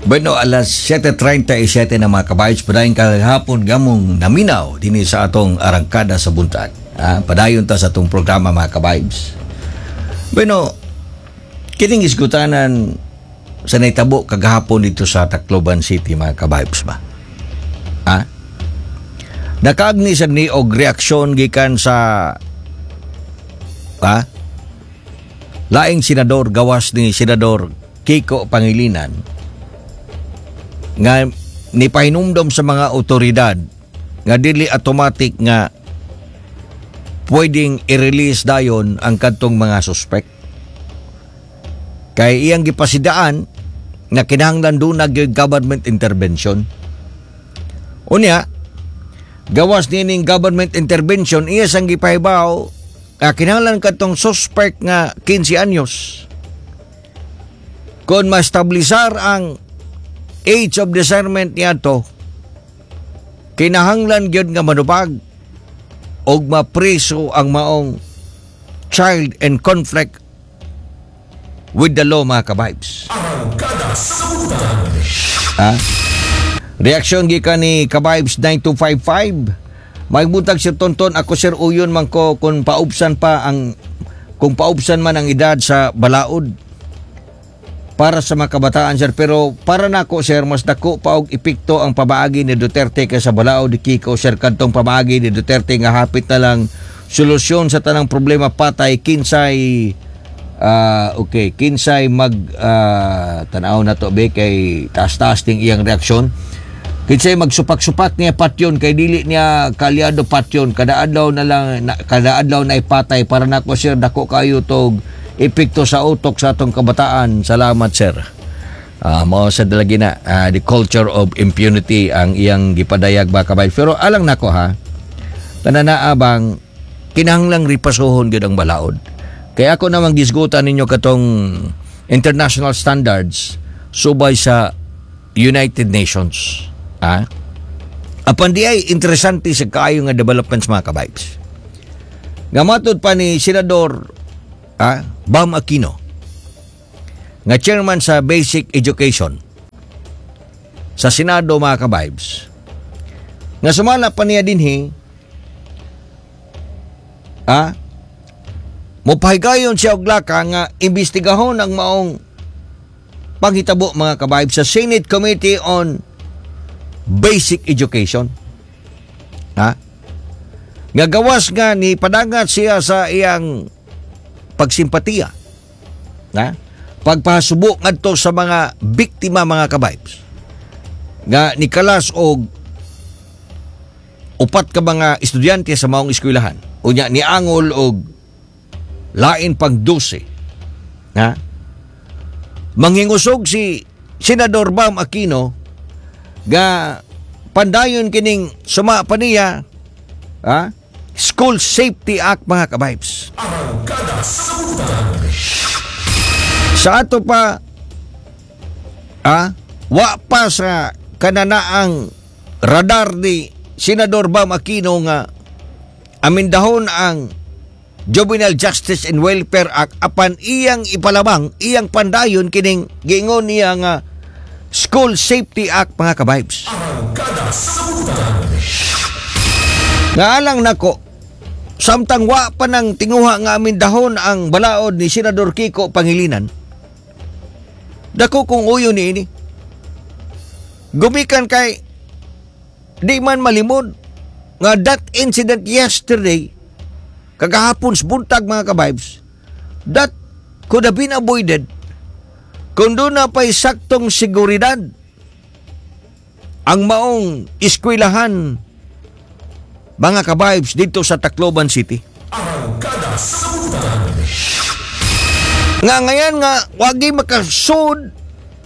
Bueno, alas 7:37 na, mga ka-vibes, padayon kahapon gamong naminaw dinhi sa atong Arangkada sa Buntag. Ah, padayon ta sa atong programa, mga ka-vibes. Bueno, kining isgutanan sa naitabo kagahapon dito sa Tacloban City, mga ka-vibes ba. Ah? Nakaagni sa ni og reaksyon gikan sa laing senador gawas ni Senador Kiko Pangilinan nga nipahinumdom sa mga otoridad nga dili automatic nga pwedeng i-release dayon ang kadtong mga suspect. Kay iyang gipasidaan nga kinahanglan duna gyud government intervention. Unya, gawas nining government intervention, iya sang gipahibaw nga kinahanglan kadtong suspect nga 15 anyos kung ma-establisar ang age of discernment niadto, kinahanglan gyud nga manubag og mapreso ang maong child in conflict with the law, mga ka-vibes. Ha? Reaksyon gikan ni Ka-vibes 9255. May buntag, Sir Tonton, ako, sir, uyon man ko kung paubsan man ang edad sa balaod para sa mga kabataan, sir, pero para nako, sir, mas dako pa og epekto ang pamaagi ni Duterte kaysa balaod ni Kiko, sir. Kadtong pamaagi ni Duterte nga hapit na lang solusyon sa tanang problema patay, kinsay okay, kinsay mag tanaw na to be kay taas-taas ting iyang reaksyon, kinsay magsupak-supak niya patyon kay dili niya kalyado patyon kada adlaw na lang na, kada adlaw na ipatay. Para nako, sir, dako kayo tog epekto sa utok sa atong kabataan. Salamat, sir. Mao sa dalagi na the culture of impunity ang iyang gipadayag ba kabay. Pero alang nako ha, kanana bang kinahanglang ripasuhon gyud ang balaod. Kaya ako namang gisgutan ninyo katong international standards subay sa United Nations. Ha? Apan di ay interesante sa kaayo nga developments, mga ka-vibes. Nga matod pa ni Senador Bam Aquino nga chairman sa Basic Education sa Senado, mga ka-vibes, nga sumala pa niya dinhi mopahigayon siya og laka nga imbestigahon ang maong panghitabo, mga ka-vibes, sa Senate Committee on Basic Education, ha, nga gawas nga ni padangat siya sa iyang pagsimpatiya na pagpasubo ngadto sa mga biktima, mga ka-vibes, nga nikalas og upat ka mga estudyante sa maong eskwelahan, unya niangol og lain pang 12, ha. Manghingusog si Senador Bam Aquino ga pandayon kining suma pa niya ha, School Safety Act, mga ka-vibes. Sa ato pa wa pa sa kananaang radar ni Senador Bam Aquino nga amindahon ang Juvenile Justice and Welfare Act, apan iyang ipalabang, iyang pandayon kining giingon niya nga School Safety Act, mga ka-vibes. Nga alang nako, samtang wa pa nang tinguha nga amindahon ang balaod ni Senador Kiko Pangilinan, dako kong uyo ni ini. Gumikan kay di man malimod nga that incident yesterday, kagahapon sa buntag, mga ka-vibes, that could have been avoided kung doon na pa'y saktong seguridad ang maong eskwelahan, mga ka-vibes, dito sa Tacloban City. Nga ngayon nga wagi makasud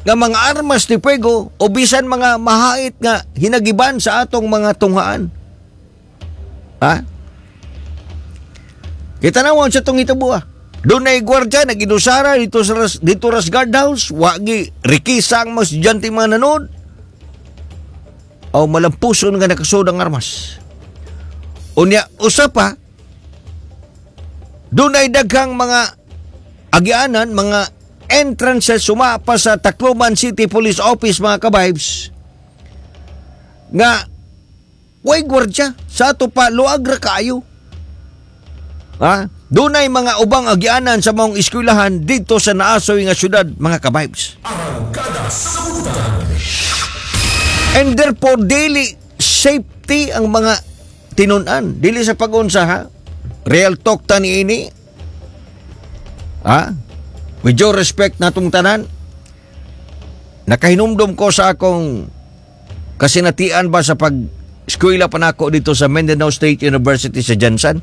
nga mga armas de fuego o bisan mga mahait nga hinagiban sa atong mga tunghaan. Ha? Kita naman sa itong hitabo ah. Doon na gwardya, nag-inusara dito ras guardhouse, wagi rikisa ang mga estudyante, mga nanood. O malampuson nga nakasud ang armas. Unya, usa pa, doon ay daghang mga agianan, mga entrances suma pa sa Tacloban City Police Office, mga kabibes, nga way gwardya sa ato pa, luag ra kaayo. Ha? Dunay mga ubang agianan sa maong eskwelahan dito sa naasoy nga syudad, mga kabibes. Arangkada sa Buktan. And therefore, dili safety ang mga tinunan. Dili sa pag-unsa, ha. Real talk ta ni ini. Ha? With due respect natong tanan, nakahinumdum ko sa akong kasinatian ba sa pag eskwela pa nako dito sa Mindanao State University sa GenSan.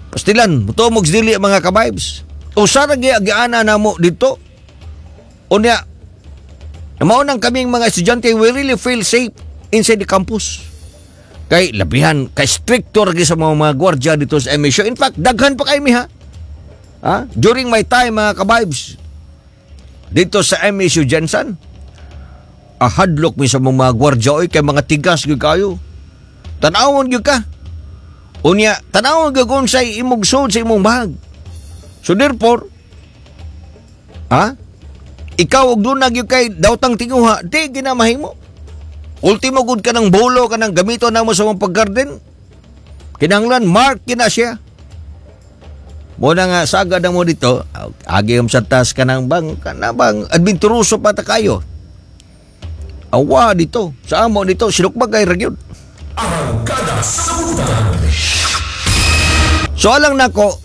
Pastilan, mutuo dili, mga kabibes. Usa ra gyud agianan namo dito. Unya, mao nang kaming mga estudyante, we really feel safe inside the campus. Kay labihan, kay stricto ra gyud sa mga gwardiya dito sa MSU. In fact, daghan pa kay mi, ha. Ha? During my time, mga kabibes, dito sa MSU GenSan, ahadlok mi sa mga gwardiya oy, kay mga tigas gyud kayo. Tanawon gyud ka. Unya, tanawon gyud kung unsay imong sud sa imong bag. So therefore, ha? Ikaw og duna gyud kay dawtang tinguha, di ginamahimo. Ultimo gud ka ng bolo ka ng gamito namo sa mong paggarden. Kinahanglan mark kina siya. Mo na nga sagad na mo dito, agi sa tas kanang bang kanang adventuroso pa ta kayo. Awa dito, sa amo dito, sinukbag kay ra gyud. Arangkada sa Buktan. So alang nako,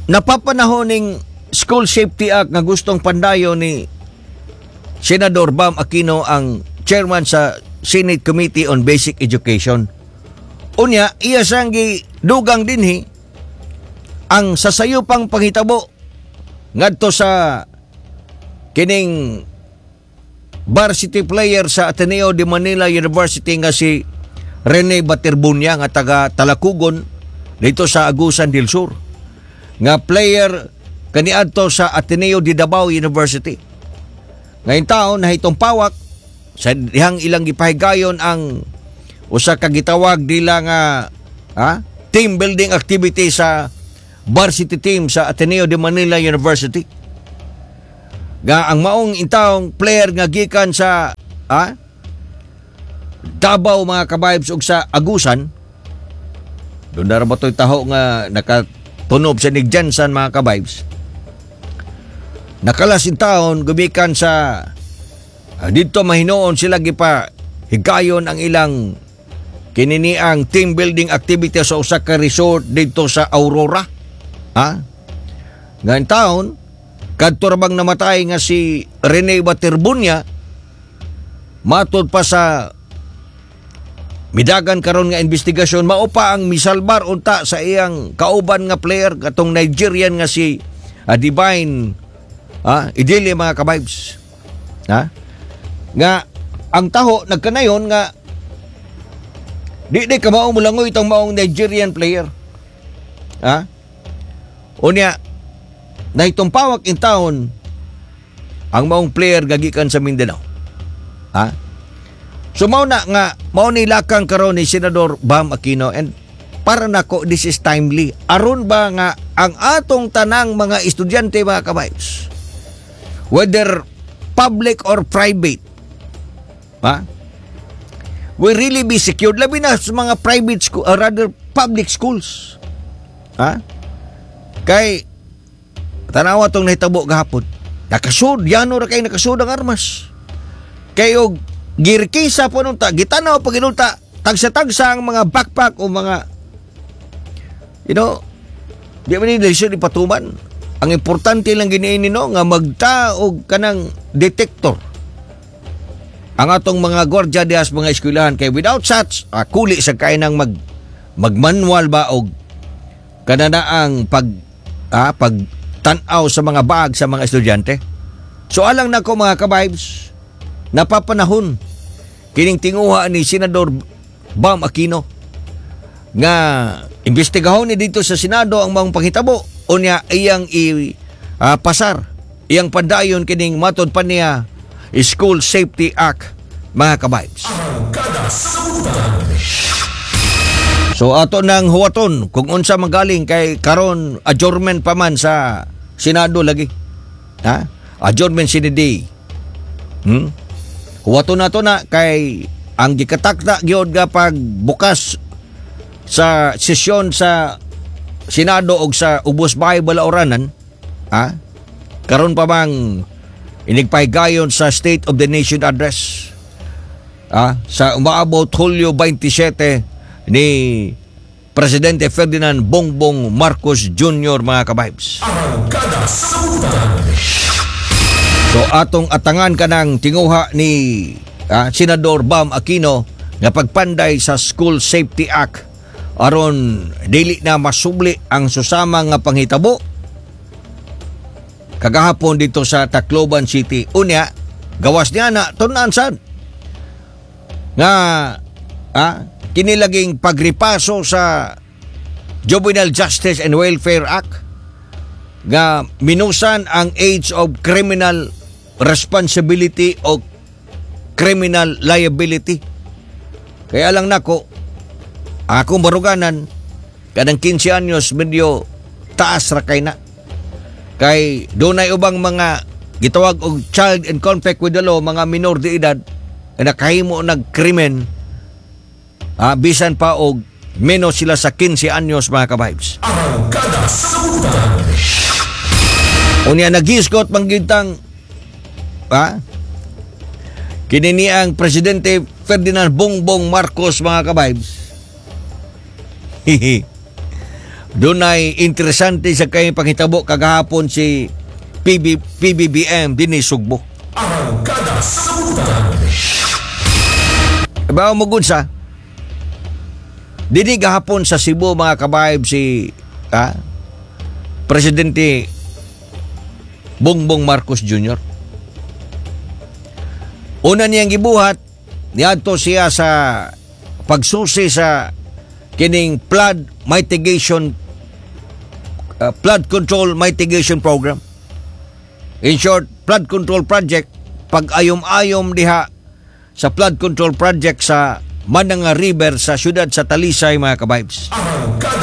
napapanahon ning School Safety Act nga gustong pandayon ni Senador Bam Aquino, ang chairman sa Senate Committee on Basic Education. Unya, iya siyang dugang dinhi ang sasayupang panghitabo ngadto sa kining varsity player sa Ateneo de Manila University nga si Rene Baterbonia nga taga Talakugon dito sa Agusan del Sur, nga player kaniadto sa Ateneo de Davao University. Ngayon taon na itong pawak sa dihang ilang gipahigayon ang usa ka gitawag nila nga team building activity sa varsity team sa Ateneo de Manila University. Nga ang maong intawong player nga gikan sa Davao, mga kabibes, ug sa Agusan, doon na ba to'y taho nga nakatunob sa nig GenSan, mga kabibes. Nakalas taon gumikan sa dito mahinoon sila gipa higayon ang ilang kininiang team building activity sa usa ka resort dito sa Aurora. Ha? Ngayon taon, kadto ra bang namatay nga si Rene Baterbonia, matud pa sa midagan karon nga investigasyon, mao pa ang misalbar unta sa iyang kauban nga player katong Nigerian nga si Divine Idili, mga kabibes, ha, nga ang taho nagkanayon nga di di ka mao mulangoy itong maong Nigerian player, ha. Unya, naitong pawak in town ang maong player gagikan sa Mindanao, ha. So mao na nga mao ni lakang karon ni Senador Bam Aquino, and para nako, this is timely aron ba nga ang atong tanang mga estudyante, mga kabibes, whether public or private, ha, will really be secured, labi na sa mga private school, rather public schools, ha, kay tanawa tong nahitabo gahapon, nakasud yano ra kay nakasud ang armas kay og girkisa po nung ta gitanaw pag inunta tagsa-tagsa ang mga backpack o mga di man ni lisod ipatuman. Ang importante lang giniini, no, nga magta og kanang detector ang atong mga gwardiya diha sa mga eskwelahan, kay without such, kuli sa kay nang magmanual ba og kananaang pag tan-aw sa mga bag sa mga estudyante. So alang nako, mga kabibes, napapanahon kining tinguha ni Senador Bam Aquino nga imbestigahon ni dito sa Senado ang mga panghitabo, unya iyang i pasar, iyang pandayon kining matod pa niya School Safety Act, mga kabibes. Arangkada sa Buktan. So ato nang huwaton kung unsa magaling, kay karon adjournment pa man sa Senado lagi. Ha? Adjournment sine die. Huwato na to na kay ang gikatakda gyud nga pagbukas sa sesyon sa Senado og sa Ubos Bahay Balauranan, karon pa bang inigpahigayon sa State of the Nation Address sa umaabot Hulyo 27 ni Presidente Ferdinand Bongbong Marcos Jr., mga kabibes. Arangkada sa Butang. So atong atangan kanang tinguha ni Senador Bam Aquino nga pagpanday sa School Safety Act aron dili na masubli ang susama nga panghitabo kagahapon dito sa Tacloban City. Unya, gawas niya na tun-an sad nga kini laging pagripaso sa Juvenile Justice and Welfare Act nga minusan ang age of criminal responsibility o criminal liability. Kaya lang nako, akong baruganan, kanang 15 anyos medyo taas ra kay na. Kay dunay ubang mga gitawag og child in conflict with the law, mga minor de edad, na nakahimo nag krimen, bisan pa og menos sila sa 15 anyos, mga kabibes. Arangkada sa Butang. Unya nagisgot manggintang kini ni ang Presidente Ferdinand Bongbong Marcos, mga kabibes. Hihi. Dunay interesante sa kay panghitabo kagahapon si PBBM dinhi Sugbo. Arangkada sa Butang. Bawo mo gud sa dinhi gahapon sa Cebu, mga kabayb, si Presidente Bongbong Marcos Jr. Una niyang gibuhat, niadto siya sa pagsusi sa kining flood control mitigation program. In short, flood control project, pag-ayom-ayom diha sa flood control project sa Mananga River sa siyudad sa Talisay, mga kabibes. Arangkada